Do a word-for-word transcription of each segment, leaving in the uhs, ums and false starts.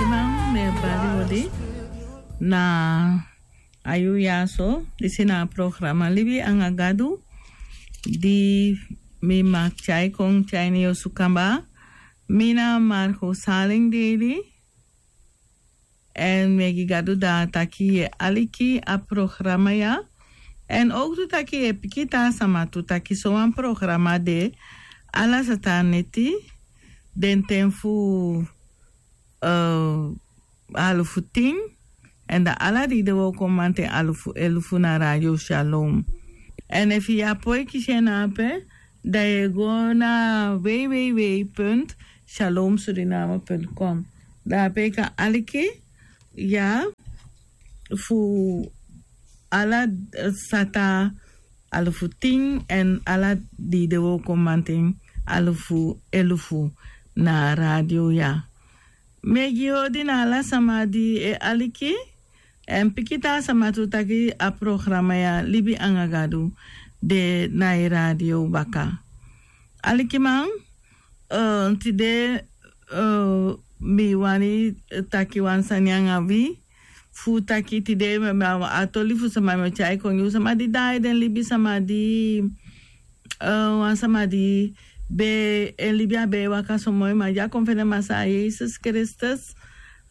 Iman, mi e bari odi na a yuu ya so, disi na a programa Libi anga Gadu, di mi maki tyai kon tyai ini yu osu kaba. Mi na Margo Salin Dede. Èn mi e gi Gadu dati taki yu e aliki a programa ya. Èn owktu taki yu e piki taa sama tu taki sowan programa de ala sata neti, den ten fu, eh, alufu tin, èn da ala dei de wooko mamanten alufu elufu na Radio Shalom. Èn efu yu á poi kisi en na ape, da yu e go na www punt shalom suriname punt com. Da ape yu kan aliki, ya, fu ala, eh, sata alufu tin èn ala dei de wooko mamanten alufu elufu na radio ya. Mi e gi odi na ala sama di e aliki, èn piki taa sama tu taki a programa ya Libi anga Gadu de na yu radio baka. Alikiman, eh, tide, eh, mi wani taki wan sani anga wi, fu taki tide mi, mi, a toli fu sama mi o tyai kon gi yu, sama di daai den libi, sama di, eh, wan sama di be, en libi á be e waka so moi, ma di a kon fende Masaa Yesus Kristus,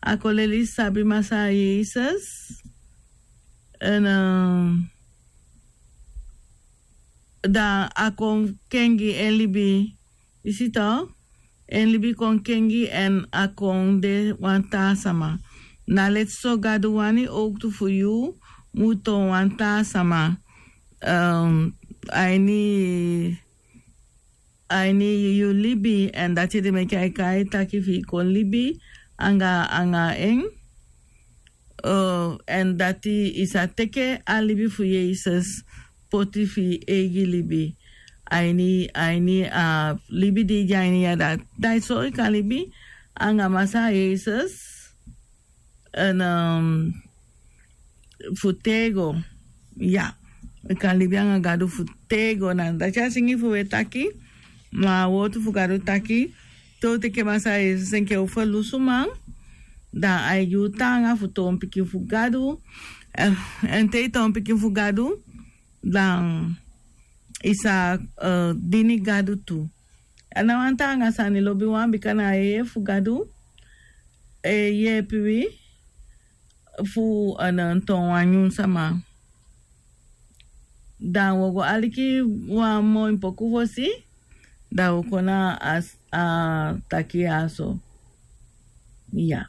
a kon leli sabi Masaa Yesus. Èn, eh, da a kon kengi en libi, yu si to, en libi kon kengi èn a kon de wan taa sama. Na leti so Gadu wani owktu fu yu mu toon wan taa sama, eh, a ini, a ini yu libi, èn dati ede meke ai kai taki fi yu kon libi anga, anga en. Eh, èn dati yu sa teke a libi fu Yesus poti fi yu eigi libi. A ini, a ini a libi di yu de a ini ya, da, da so yu kan libi anga Masaa Yesus. Èn, eh, fu tego, ya, yu kan libi anga Gadu fu tego. Na dati a singi fu wi e taki, ma a wowtu fu Gadu taki, te u teke Masaa Yesus enke u ferlusuman, da ai gi u taanga fu toon pikin fu Gadu. Eh, èn te yu toon pikin fu Gadu, da yu sa, eh, dini Gadu tu. A na wan taanga sani lobiwan, bika na a yeye fu Gadu e yeepi wi fu, eh, toon wan nyun sama. Da wi o go aliki wan moi poku fosi, da wi o kon na a s-, a taki ya so. Ya.